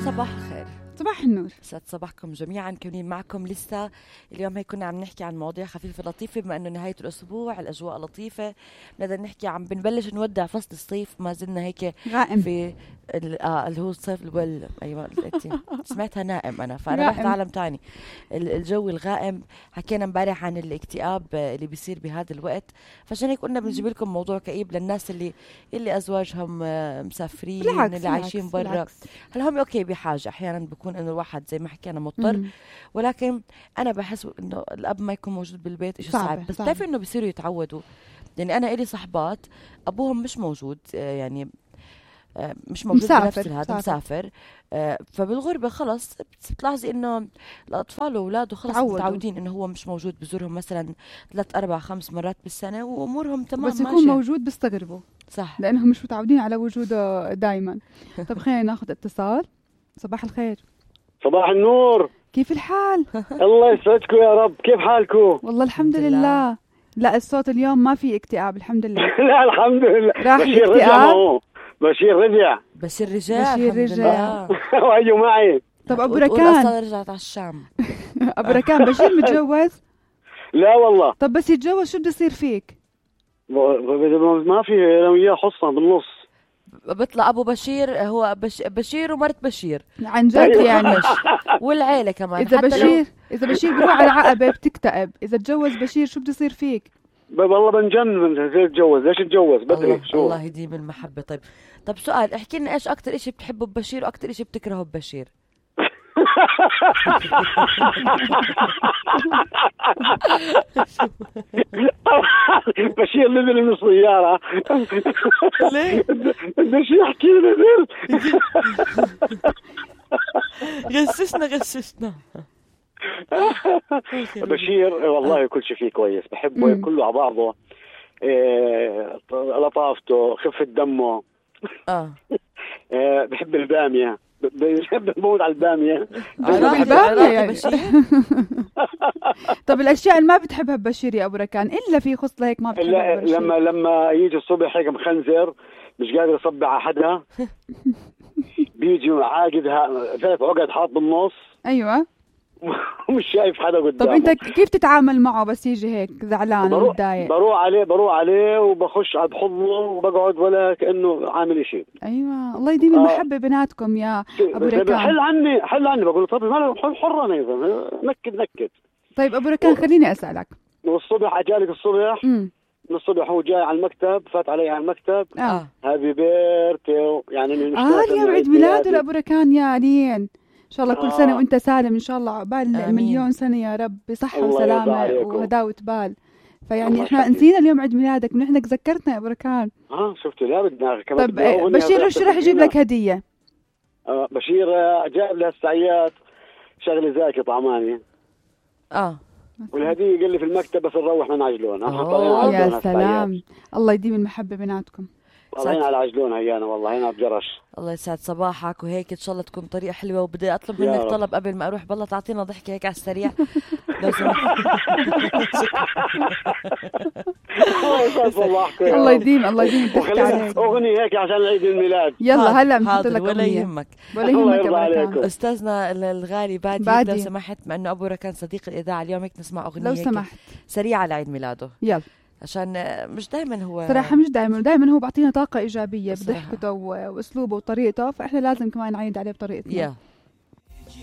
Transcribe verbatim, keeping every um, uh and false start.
صباح الخير. صباح النور. سعد صباحكم جميعا. كونين معكم لسه اليوم هيك كنا عم نحكي عن مواضيع خفيفة لطيفة بما انه نهاية الاسبوع الاجواء لطيفة. بنقدر نحكي عم بنبلش نودع فصل الصيف، ما زلنا هيك غائم في اه اللي هو الصيف الول. ايوه سمعتها نائم انا، فانا رحت عالم تاني. الجو الغائم. حكينا امبارح عن الاكتئاب اللي بيصير بهذا الوقت، فعشان هيك قلنا بنجيب لكم موضوع كئيب للناس اللي اللي ازواجهم مسافرين، بالعكس اللي عايشين برا. هلا هم اوكي بحاجة احيانا بكون انه الواحد زي ما حكينا مضطر، مم. ولكن انا بحس انه الاب ما يكون موجود بالبيت شيء صعب. بس بتعرفي انه بيصيروا يتعودوا. يعني انا الي صحبات ابوهم مش موجود، يعني مش موجود بنفس هذا مسافر، فبالغربة خلص بتلاحظي انه الاطفال واولاده خلص متعودين انه هو مش موجود، بزورهم مثلا ثلاث اربع خمس مرات بالسنة وامورهم تمام. بس يكون موجود بيستغربوا، صح، لانهم مش متعودين على وجوده دائما. طب خلينا ناخذ اتصال. صباح الخير. صباح النور. كيف الحال؟ الله يسعدكم يا رب. كيف حالكم؟ والله الحمد لله. لا الصوت اليوم ما في اكتئاب الحمد لله. لا الحمد لله. راح الاكتئاب. بشير رجع. بشير رجع. بشير رجع. واجوا معي. طب ابو ركان رجعت على الشام. ابو ركان بشير متجوز؟ لا والله. طب بس يتجوز شو بده يصير فيك؟ ما في انا وياه حصه بالنص. بيطلع ابو بشير هو بش بشير ومرت بشير عن جد يعني. والعيله كمان. اذا بشير اذا بشير بروح على عقبه بتكتئب، اذا تجوز بشير شو بده يصير فيك؟ والله بنجن من زي تجوز. ليش تجوز بدري؟ الله, شو الله يديم المحبه. طيب طب سؤال، احكي لنا ايش اكثر شيء بتحبه ببشير واكثر شيء بتكرهه ببشير؟ بشير نزل من السيارة. ليه؟ بدش يحكي نزل. غششنا غششنا. بشير والله كل شيء فيه كويس، بحبه كله على بعضه. إيه لطافته، خفة دمه. اه بحب البامية، بحب بموت على البامية. البامية طب الأشياء اللي ما بتحبها ببشير يا أبو ركان إلا في خصلة هيك ما بتحبها ببشير؟ لما لما يجي الصبح هيك مخنزر مش قادر يصبع على حدا، بيجي عاقدها ثلاث عقد حاط بالنص. أيوة. ومش شايف حدا قدامه. طب أنت كيف تتعامل معه بس يجي هيك زعلان ومتضايق؟ بروح عليه بروح عليه وبخش على بحضنه وبقعد ولا كأنه عامل شيء. أيوة الله يديم المحبة آه. بيناتكم يا أبو ركان. حل عني حل عني بقول طب ما حر أنا إذا نكد نكد. طيب أبو ركان خليني أسألك. والصبح أجالك الصبح. امم من الصبح هو جاي على المكتب، فات علي على المكتب. اه هابي بيرثدي يعني من اه اليوم عيد ميلاده لأبو ركان يا علين. إن شاء الله كل سنة وأنت سالم إن شاء الله، عقبال مليون سنة يا رب بصحة وسلامة وهداوة بال. فيعني إحنا نسينا اليوم عيد ميلادك من إحنا ذكرتنا يا أبو ركان. آه شفت لا بدنا كمان. طب بشير شو راح يجيب لك هدية؟ آه بشير جاب لها السعيات شغلة زاكي طعماني. آه والهدية قال لي في المكتب بس نروح من عجلون. يا سلام الله يديم المحبة بيناتكم. والله على عجلون هيانا والله هنا بجرش. الله يسعد صباحك وهيك ان شاء الله تكون طريقه حلوه. وبدي اطلب منك طلب قبل ما اروح، بالله تعطينا ضحكه هيك على السريع لو سمحت. الله يديم الله يديم الضحكه عليك. اغنيه هيك عشان عيد الميلاد. يلا هلا بنحط لك ولا يهمك ولا يهمك. استاذنا الغالي بادي, بادي لو سمحت، مع انه ابو ركان صديق الاذاعه اليوم هيك نسمع اغنيه لو سمحت سريعه لعيد ميلاده. يلا عشان مش دائما هو صراحة مش دائما دائما هو بعطينا طاقة إيجابية بضحكته وأسلوبه وطريقته، فإحنا لازم كمان نعيد عليه بطريقتنا. yeah.